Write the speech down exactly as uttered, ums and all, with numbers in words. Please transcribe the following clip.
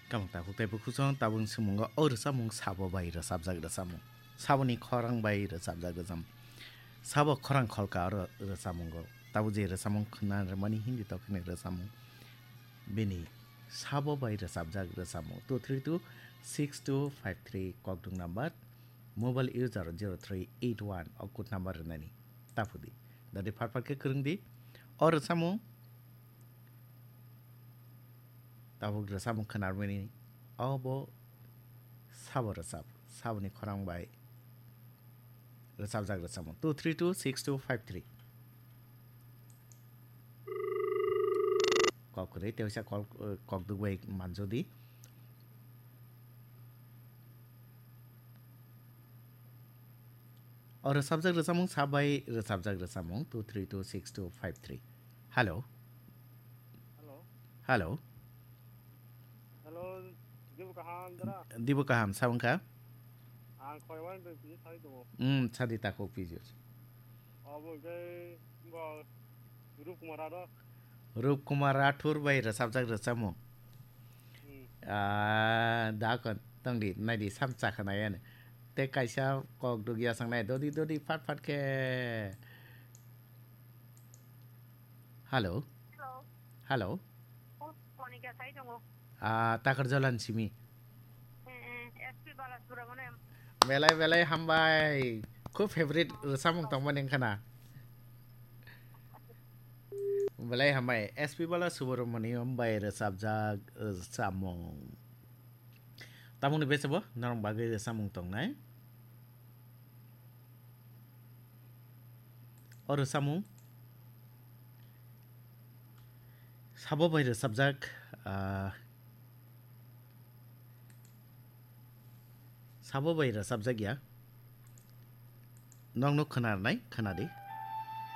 Kamang tabuk tei bukhuk song tabuk swimungo o rwchapmung sabo bai rwchapjak rwchapmung. Saboni khorang bai rwchapjak rwchapmung. Sabo khorang kholka o rw-, rwchapmungo. Tabuk je rwchapmung khna rwmani Hindi tok hwnwi rwchapmung. Bini sabo bai rwchapjak rwchapmung. Two three two six two five three kokdwng number. Mobile user zero three eight one o code number rwnani. Taphudi. Dadi phat phat khe kwrwng di. O rwchapmung. Tabuk rwchapmung khwnarmani obo sabo rwchap, saboni khorang bai rwchapjak rwchapmung two three two six two five three. Kok kwrwi tei waisa kok, eh, kok duk bai manjodi. O rwchapjak rwchapmung sabo bai rwchapjak rwchapmung two three two six two five three. Hello. Hello. Hello. Hello, Dibu kaham dara? Dibu kaham, sabang kha? Ang khoi wan doi piji sai tongo. Hmm, sadi takhuk piji. Abo hwnkhe bo Rup Kumar Rathore. Rup Kumar Rathore bai rwchapjak rwchapmung. Hmm. Ah, da kon tongdi, naidi sam chakha nai ani. Te kaisa kok dugya sangnai, dodi dodi phat phat khe. Hello. Hello. Hello. Oh, Monica sai tongo. Ah, takar jolan simi. Eh, eh, S P Balasubramaniam. Belai belai hambai. Khub favorite rwchapmung tongmani wngkha na. Belai hambai. S P Balasubramaniam bai rwchapjak rwchapmung. Tamoni bese bo norok bagwi rwchapmung tongnai. O rwchapmung sabo bai rwchapjak, ah, sabo bai rwchapjak ya. Nokno khwnarnai, khwnadi.